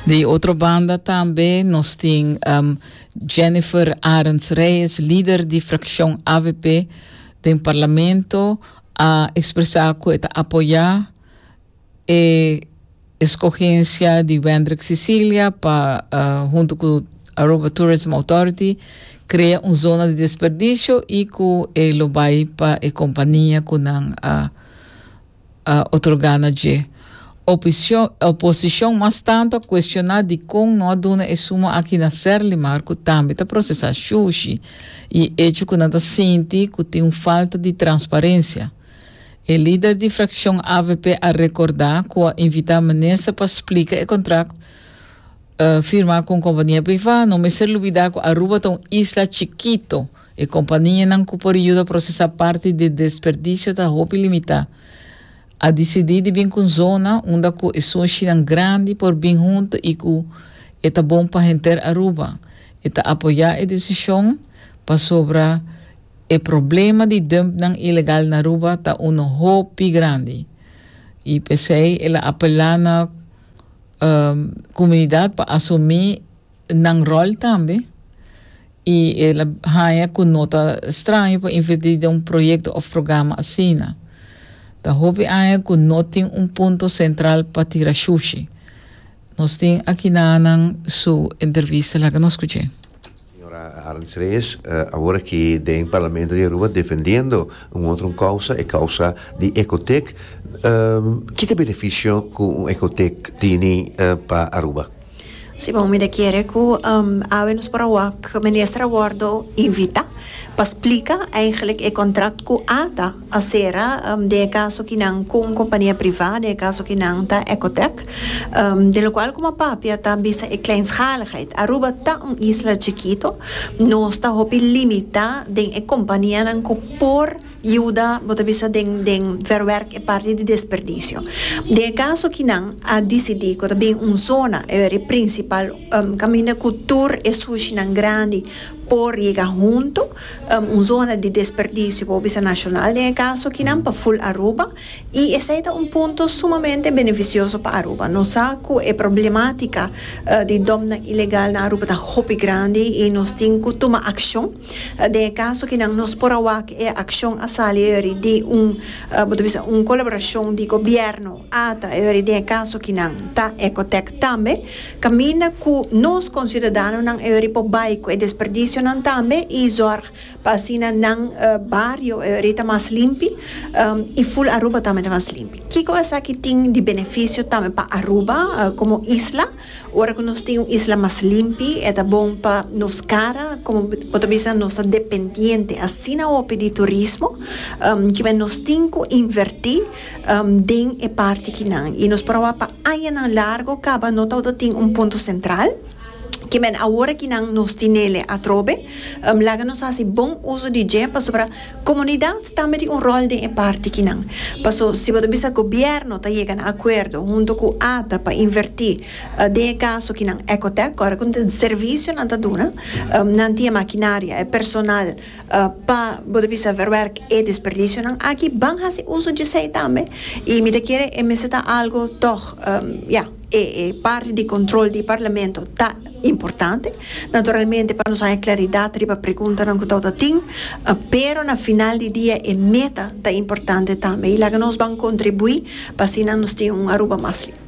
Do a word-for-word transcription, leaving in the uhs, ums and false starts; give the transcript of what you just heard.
Di otro banda tambe nos tin um, Jennifer Arends Reyes, lider di fraccion A V P den parlamento, a expresa cu ta apoya e escogencia di Wendrick Cecilia pa, uh, hunto cu Aruba Tourism Authority, crea un zona di desperdicio y cu e lo bay pa e compania cu nan a uh, otorga na dje. Oposicion, oposicion mas tanto a cuestiona di con no a duna e suma aki na Serlimar, cu tambe ta procesa sushi, y hecho cu nan ta sinti cu tin un falta di transparencia. E lider di fraccion A V P a recorda cu a invita minister pa splica e contract uh, firma cu compania priva. No mester lubida cu Aruba ta un isla chikito y companianan cu por yuda procesa parti di desperdicio ta hopi limita. A dicidi di bin cu zona unda cu e sushinan grandi por bin hunto y cu ta bon pa henter Aruba. E ta apoya e decision pasobra e problema di dumpnan ilegal na Aruba ta un hopi grandi. Y p'esey el a apela na um, comunidad pa asumi nan rol tambe y el a haya cu no ta straño pa inverti den un proyecto of programa asina. Ta hopi aña cu no tin un punto central pa tira sushi. Nos tin aki nan su entrevista, laga nos scucha. Señora Arends Reyes, uh, awor aki den Parlamento di Aruba defendiendo un otro causa, e causa di Ecotec. Um, ki beneficio cu Ecotec tin uh, pa Aruba? Si, bon, mi kier cu um, awe nos por a wak minister a wordo invita pa splica eigenlijk e contract cu ATA a cera um, den caso akinan cu compania priva, den caso akinan ta Ecotec, um, di locual como papia ta bisa e kleinschaligheid. Aruba ta un isla chikito, nos ta hopi limita den e companianan cu por yuda, bo ta bisa, den den verwerk e parti di desperdicio. Den caso akinan a dicidi cu tambe un zona e principal um, caminda cu tur e sushinan grandi por yega hunto, um, un zona di desperdicio pa bisa nacional den caso akinan pa full Aruba, y esey ta un punto sumamente beneficioso pa Aruba. Nos sa cu e problematica uh, di dumpnan ilegal na Aruba ta hopi grandi y nos tin cu tuma accion. Uh, den caso akinan nos por a wak e accion a sali di un uh, un colaboracion di gobierno, ATA, e den caso akinan ta Ecotec tambe, caminda cu nos ciudadanonan e por bay cu e desperdicio nan tambe y zorg pa asina nan uh, bario e ta mas limpi um, y full Aruba tambe ta mas limpi. Kico esaki tin di beneficio tambe pa Aruba uh, como isla? Ora cu nos tin un isla mas limpi, ta bon pa nos cara, como bo ta bisa, nos ta dependiente asina hopi di turismo, um, cu nos tin cu inverti um, den e parti akinan. Y nos por a pa aña largo caba no tin un punto central, kiermen awor akinan nos tin'e atrobe, um, laga nos haci bon uso di dje, pasobra comunidad tambe tin un rol den e parti akinan. Paso si bo bisa gobierno ta yega na acuerdo hunto cu ATA pa inverti uh, den caso akinan Ecotec, awor cu servicio nan ta duna, um, nan tin maquinaria e personal uh, pa bo bisa verwerk e desperdicio nan aki, ban haci uso di esey tambe y mi ta kere e mester ta algo toch um, ja, e, e parti di control di parlamento ta importante. Naturalmente, pa nos haya claridad riba preguntanan cu tur tin, pero na final di dia e meta ta importante tambe. Y laga nos ban contribui pa asina nos tin un Aruba mas limpi.